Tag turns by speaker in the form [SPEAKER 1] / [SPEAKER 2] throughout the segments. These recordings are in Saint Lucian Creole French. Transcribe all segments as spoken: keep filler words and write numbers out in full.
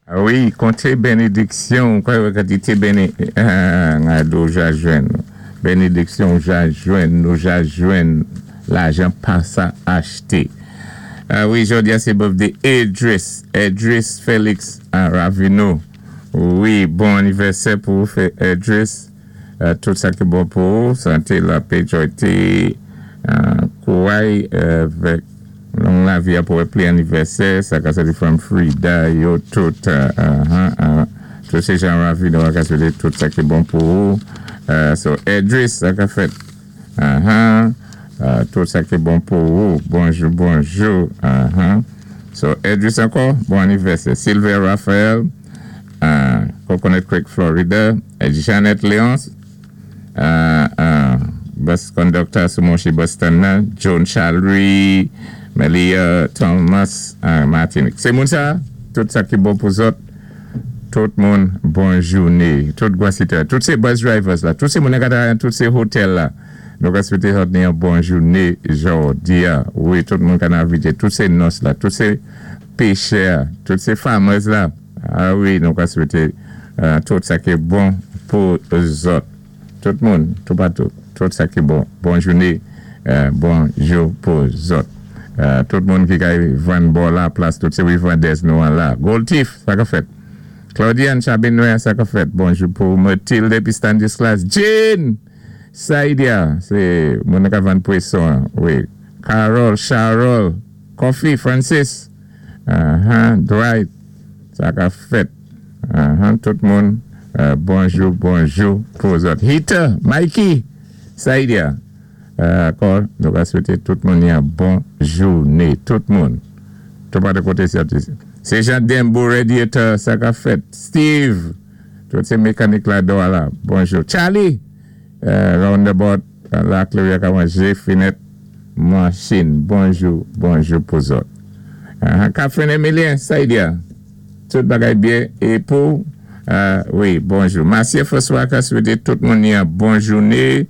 [SPEAKER 1] Wi, konté bénédiksyon, kwa yo ka di té béni, ah, ja jwenn. Bénédiksyon ja jwenn, nou ja jwenn, lajan pa sa achté. Ah, wi, jòdi-a sé birthday Idris, Idris Félix ah, Ravino. Wi, bon anivèsè pou ou, Idris. Euh, tout sa ki bon pou ou, santé, lapè, jwayté, euh, kouway, avèk long lavi pou pli anivèsè, sa ka soti from Frida, yo tout, uh, uh, uh, tout sé jan Ravino ka swété tout sa ki bon pou ou. Uh, so, Idris, sa ka fèt. Uh-huh. Uh, tout sa ki bon pou ou. Bonjou, bonjou. Uh-huh. So, Idris ankò, bon anivèsè. Sylvia Raphael, uh, Coconut Creek, Florida. Janet Leonce, uh, uh, bus conductor sou Monchi Boston nan, John Chalry, Melia Thomas, uh, Martinique. Sé moun sa, tout sa ki bon pou zòt, tout moun bon jouné, tout gwasitè, tout sé bus drivers la, tout sé moun ka tout sé hotel la. Nou ka swété zòt ni yon bon jouné jòdi-a. Wi, tout moun ka navigé, tout sé nurse la, tout sé péchè, tout sé farmers la. Ah wi, nou ka swété uh, tout sa ki bon pou zòt. Tout moun, tout patou, tout sa ki bon. Bon jouné, uh, bonjou pou zòt. Uh, tout moun ki kay vann bò la plas, tout sé wi vandèz nou an la. Gold Thief, sa ka fèt. Claudiane Chabinoy, sa ka fèt. Bonjou pou Mathilde Stanislas. Jane! Saidia, sé moun ka vann pwason, wi. Carol, Charol, Coffee, Francis. Uh-huh, Dwight, sa ka fèt. Uh-huh, tout moun, uh, bonjou, bonjou pou zòt. Hita, Mikey, Saidia. Uh, ankò, nou ka swété tout moun yon bon jouné. Tout moun. Tout pa de koté sé Jean Dembo Radiator, sa ka fèt. Steve, tout sé mekanik la do la. Bonjou. Charlie, uh, roundabout, la Cléria ka manjé, finèt, machin. Bonjou, bonjou pou zòt. Uh, Catherine Emilien, Saidia. Tout bagay byen. É pou, uh, wi, bonjou. Marcia François ka swété tout moun yon bon jouné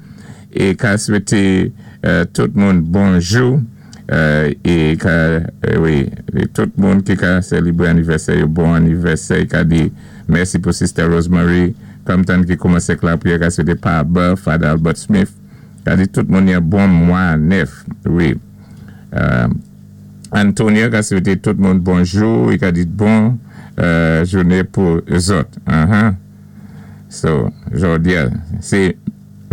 [SPEAKER 1] é ka swété uh, tout moun bonjou. Uh, é ka, uh, wi, tout moun ki ka sélébré anivèsè, bon anivèsè, ka di mèsi pou Sister Rosemary, Compton ki koumansé lapriyè, ka swété Pa Father Albert Smith, ka di tout moun yon bon mwa nèf, wi. Uh, Antonia ka swété tout moun bonjou, i ka di bon uh, jouné pou zòt. Uh -huh. So, jòdi-a, sé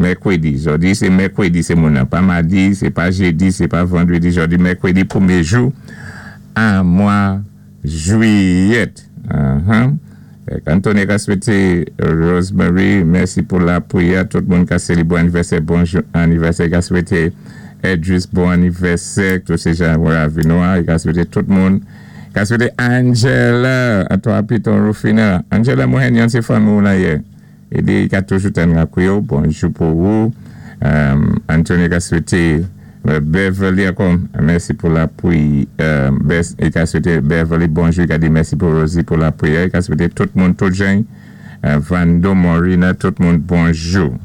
[SPEAKER 1] mèkwédi. Jòdi, sé mèkwédi, sé moun pa madi, sé pa jédi, sé pa vandrédi. Jòdi, mèkwédi, pwémyé jou, an mwa jwiyèt. Uh -huh. Antonia ka swété Rosemary, mèsi pou lapriyè. Tout moun ka sélébré anivèsè, bon anivèsè. Ka swété Edris, bon anivèsè. Tout sé jan Ravinois. Ka swété tout moun. Ka swété Angela, a toi Piton Rufina. Angela mwen yon sé fanmi la yé. É di ka toujou tann lapriyè, bonjou pou ou. Um, Anthony ka swété Beverly ankò, mèsi pou lapriyè. Euh, i ka swété Beverly bonjou, i ka di mèsi pou Rosie pou lapriyè. I ka swété tout moun, tout jan. Uh, Vando Morina, tout moun, bonjou.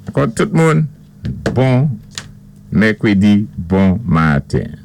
[SPEAKER 1] Ankò tout moun, bon mèkwédi, bon maten.